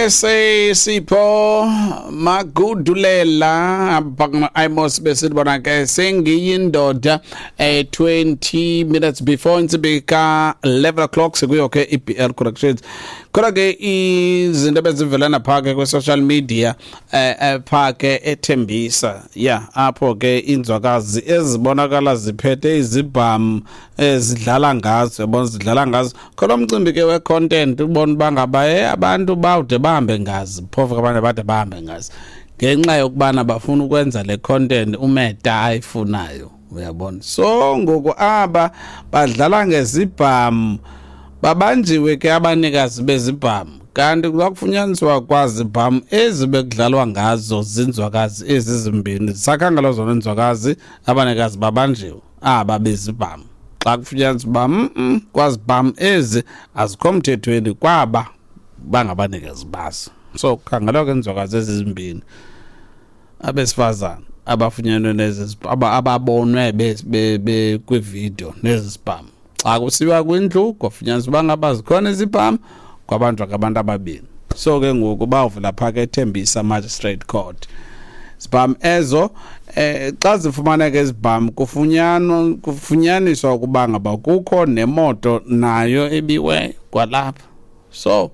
Ke sisipho Magudulela apha Imos, besithi bona ke sengiyindoda. 20 minutes before intsimbi ka 11 o'clock, sikuyo ke iBL Corrections. Kodwa ke izinto ebezivelana phaa ke kwi-social media, phaa ke eThembisa ya, apho ke inzwakazi ezibonakala ziphethe izibham, ezidlala ngazo, yabona, zidlala ngazo. Khona umcimbi ke we-content, ubona uba ngaba abantu bawude bahambe ngazi, phofu ke abanye bade bahambe ngazi ngenxa yokubana bafuna ukwenza le content uMeta ayifunayo, uyabona. So ngoku aba badlala ngezibham babanjiwe ke abanikazi bezibham, kanti kwakufunyaniswa kwazibham ezi bekudlalwa ngazo zinzwakazi ezi zimbini. Zisakhangela zona inzwakazi, abanikazi babanjiwe aba bezibham xa kufunyaniswa uba kwazibham ezi azikho mthethweni kwaba bangabanikazi bazo. So kukhangelwa ke inzwakazi ezi zimbini, abesifazane abafunyenwe nezi, ababonwe kwividiyo nezi zibham. Xa kusiwa kwindlu kwafunyaniswa uba ngaba zikhona izibham, kwabanjwa ke abantu ababini. So ke ngoku bawuvula phaa ke eThembisa Magistrate Court. Zibham ezo, xa zifumaneka izibham, kufunyanwa kufunyaniswa ukuba ngaba kukho nemoto nayo ebiweyo kwalapha. So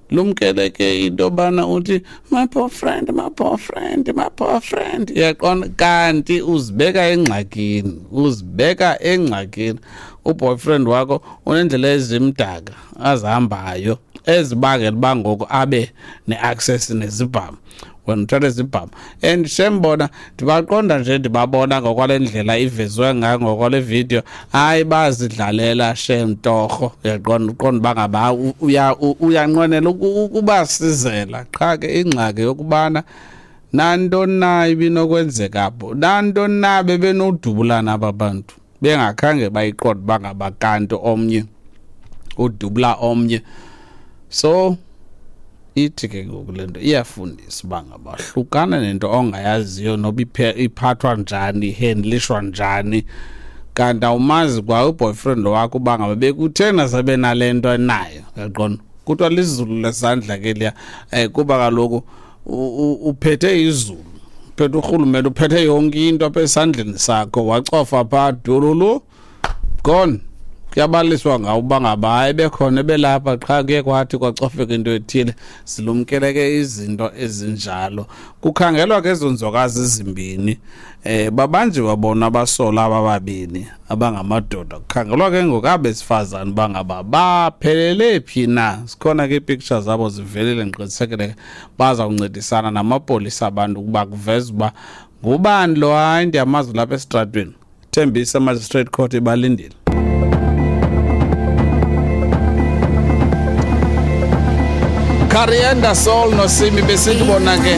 lumkele ke into yobana uthi "my boyfriend, my boyfriend, my boyfriend", uyaqonda, kanti uzibeka engxakini, uzibeka engxakini. Uboyfriend wakho unendlela ezimdaka azihambayo ezibangela uba ngoku abe ne-access nezibham, wena uthatha izibham. And shem, bona ndibaqonda nje, ndibabona ngokwale ndlela ivezwe ngayo ngokwale video, hayi, bazidlalela shem torho, uyaqonda, uqonda uba ngaba uyanqwenela ukubasizela. Qha ke ingxaki yokubana nantoni na ibinokwenzeka apho, nantoni na bebenodubulana aba bantu bengakhange bayiqonde uba ngaba kanti omnye udubula omnye. So ithi ke ngoku le nto iyafundisa uba ngaba hlukana nento ongayaziyo noba iphathwa njani, ihandlishwa njani, kanti awumazi kwa uboyfriend wakho uba ngaba bekuthena sabe nale nto enayo, uyaqonda. Kuthiwa lizulu lesandla ke liya, kuba kaloku uphethe izulu, uphethe urhulumente, uphethe yonke into apha esandleni sakho, wacofa phaa dululu, gone. Kuyabaliswa ngawo uba ngaba hayi, bekhona ebelapha, qha kuye kwathi kwacofeka into ethile. Silumkele ke izinto ezinjalo. Kukhangelwa ke ezo nzwakazi zimbini, babanjiwe bona abasola aba babini abangamadoda. Kukhangelwa ke ngoku abesifazane uba ngaba baphelele phi na. Zikhona ke iipicture zabo zivelile, ndiqinisekile baza kuncedisana namapolisa abantu ukuba kuveze uba ngubani lo. Hayi, ndiyamazi lapha esitratweni. Thembisa Magistrate Court ibalindile. Coriander Soul noSimi, besithi bona ke